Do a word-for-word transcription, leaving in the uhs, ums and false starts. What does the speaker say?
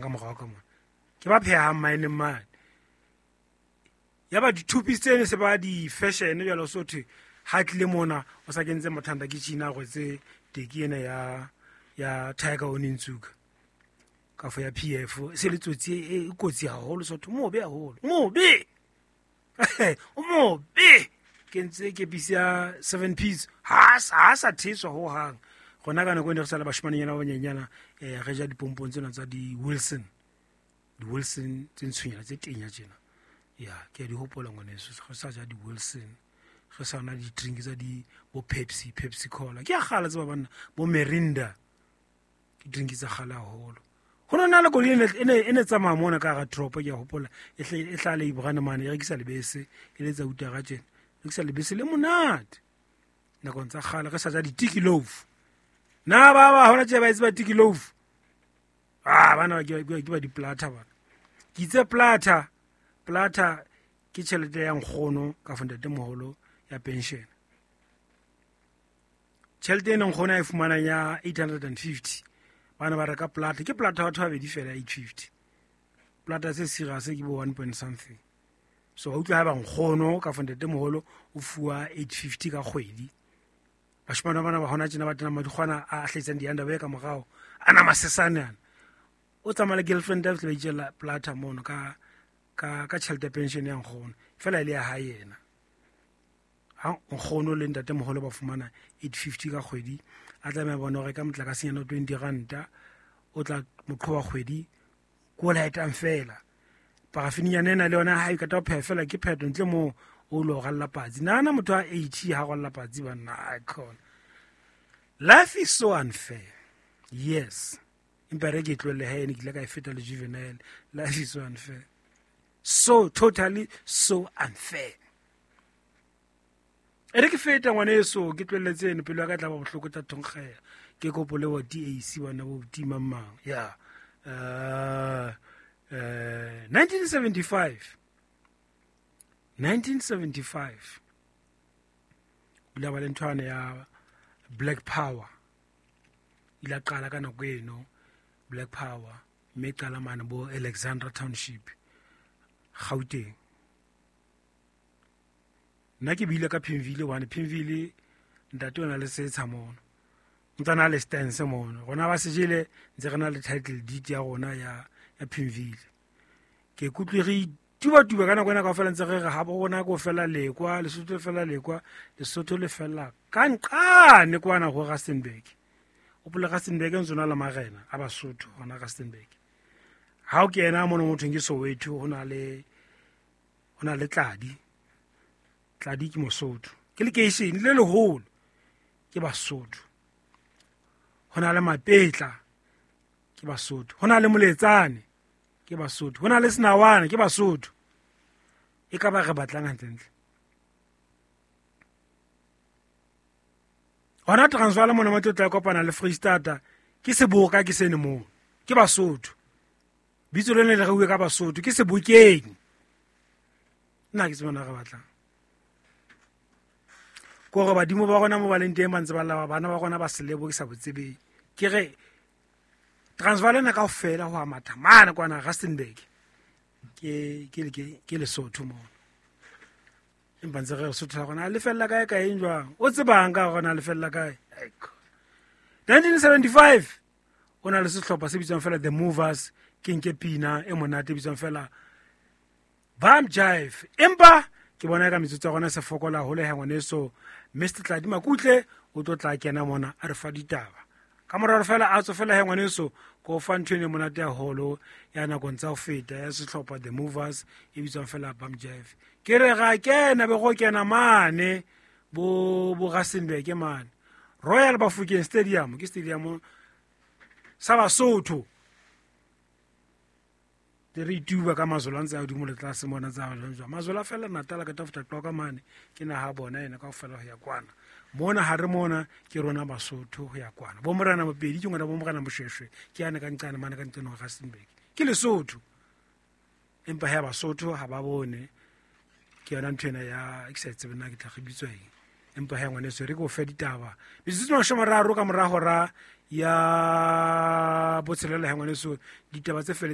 Ka morao ka mona ke ba phehang maeneng mane. Ya ba di-two-piece tsene se ba di-fashion jwalo, so thwe ha tlile mona o sa kentse mathanda ke tjhina, a rwetse teki ena ya ya Tiger Onitsuka kafo ya P F, e se le tsotsi e e kotsi haholo, so thwe mobe haholo, mobe o mobe. Kentse kepisi ya seven piece, ha ha sa thetswa ho hang. Rona ka nako e ne re sa le bashimanenyana ba banyenyana, eh re ja dipompong tsena tsa di-Wilson, di-Wilson tse ntshonyana tse tenya tjena. Ya ke a di hopola ngwaneso, re sa ja di-Wilson, re sa nwa di-drink tsa di bo Pepsi, Pepsi Cola. Ke a kgale tseba banna, bo Mirinda, ke drink tsa kgale haholo. Ho no na le koloi e ne, e ne, e ne tsamaya mona ka hara toropo, ke a hopola, e hle, e hlaha le Ibrahim mane, e rekisa lebese, e letsa utara tjena, e rekisa lebese le monate. Nakong tsa kgale re sa ja di-tiki loaf. Na ba ba hona tje ba e tseba tiki loaf? Ah, bana ke ba, ke ba di-plata bana. Ke itse plata, plata ke tjhelete ya nkgono ka fa ntatemoholo ya pension. Tjhelete ena nkgono a e fumanang ya eight hundred and fifty, bana ba reka plata, ke plata batho ba babedi fela eight fifty. Plata se serious ke bo one point something. So wa utlwa ha ba nkgono ka fa ntatemoholo o fuwa eight fifty ka kgwedi. Bashimane bana ba hona tjena ba tena madikgwana a hlahisang di-underwear ka morao, a na masesane ana. O tsamaya le girlfriend ya ba itjella plata mono ka, ka, ka tjhelete ya pension ya nkgono, fela e le ya hae yena. Ha nkgono le ntatemoholo ba fumana eight fifty ka kgwedi, a tlameha bona ho reka motlakasenyana o twenty ranta, o tla mo qhoba kgwedi, ko o laetang fela. Parafinyana ena le yona ha e qeta ho pheha fela ke phetho, ntle moo o lo ralla patsi. Nahana motho a eighty ha ralla patsi banna, ai khona. Life is so unfair. Yes. Empa re ke tlohelle ha ene ke ile ka e feta le juvenile. Life is so unfair. So totally so unfair. E re ke feta ngwaneso, ke tlohelletse eno pelo ya ka e tla ba bohloko tla thonkgela. Ke kopo le bo D A C bana bo tima mang. Ya. Uh, uh, nineteen seventy-five. nineteen seventy-five. O ile ba le nthwana ya Black Power. Ile a qala ka nako eno Black Power, mme qala mane bo Alexandra Township, Gauteng. Nna ke bile ka Pimville hobane Pimville ntate o na le setsha mono, ntse a na le stance mono. Rona ba sejele ntse re na le title deed ya rona ya, ya Pimville. Ke ikutlwe re tuba-tuba ka nako ena kaofela ntse re re ha bo rona ko fela lekwa, Lesotho le fela lekwa, Lesotho le fela ka nqane kwana ho Rustenburg. Hopola Rustenburg ntse na le marena a Basotho hona Rustenburg. Ha o kena mono mothong ke Soweto, ho na le, ho na le Tladi. Tladi ke Mosotho. Ke lekeishene le leholo ke Basotho. Ho na le Mapetla ke Basotho. Ho na le Moletsane ke Basotho. Ho na le Senawana ke Basotho. E ka ba re batlang hantlentle. Hona Transvaal mona mo tlo tla kopana le Freistata ke seboka ke sene moo. Ke Basotho. Bitso lene le reuwe ka Basotho ke Sebokeng. Nna ke tsebana re batlang. Kore badimo ba rona mo ba leng teng ba ntse ba lla bana ba rona ba selebo ke sa botsebeng. Ke re Transvaal ena kaofela ho a matha mane kwana Rustenburg. Ke, ke, ke, ke Lesotho moo. Empa ntse re Lesotho la rona le fella kae kae eng jwang? O tsebang ka rona le fella kae? nineteen seventy-five o na le sehlopha se bitswang fela The Movers, ke nke pina e monate e bitswang fela Bam Jive. Empa ke bona ka metsotso ya rona se fokola haholo he ngwaneso Mister Tladi Makutle o tlo tla kena mona a re fa ditaba. Ka morao fela a tswe fela he ngwaneso ko fa ntho ene monate haholo ya nakong tsa ho feta ya sehlopha The Movers e bitswang fela Bam Jive. Ke re ga kena be go kena mane bo, bo Rustenburg mane Royal Bafokeng Stadium, ke stadium sa Basotho. Te re ituba ka mazolo a ntse a hodimo le tlase mona tsa jwang jwang. Mazolo a fela Natal ka tafuta tloka mane ke naha bona ena kaofela ho ya kwana. Mona ha re mona ke rona Basotho ho ya kwana. Bo Morena Mopedi ke ngwana bo Morena Moshweshwe ke yane ka nqane mane ka nqane ho Rustenburg. Ke Lesotho. Empa ha Basotho ha ba bone ke yona ntho ena ya ke sa tsebe na ke tla re bitswa eng. Empa ha ngwaneso re ke o fe ditaba. Metsotso e mashome a mararo ka mora hora Ya botshelela he ngwaneso, ditaba tse feletseng.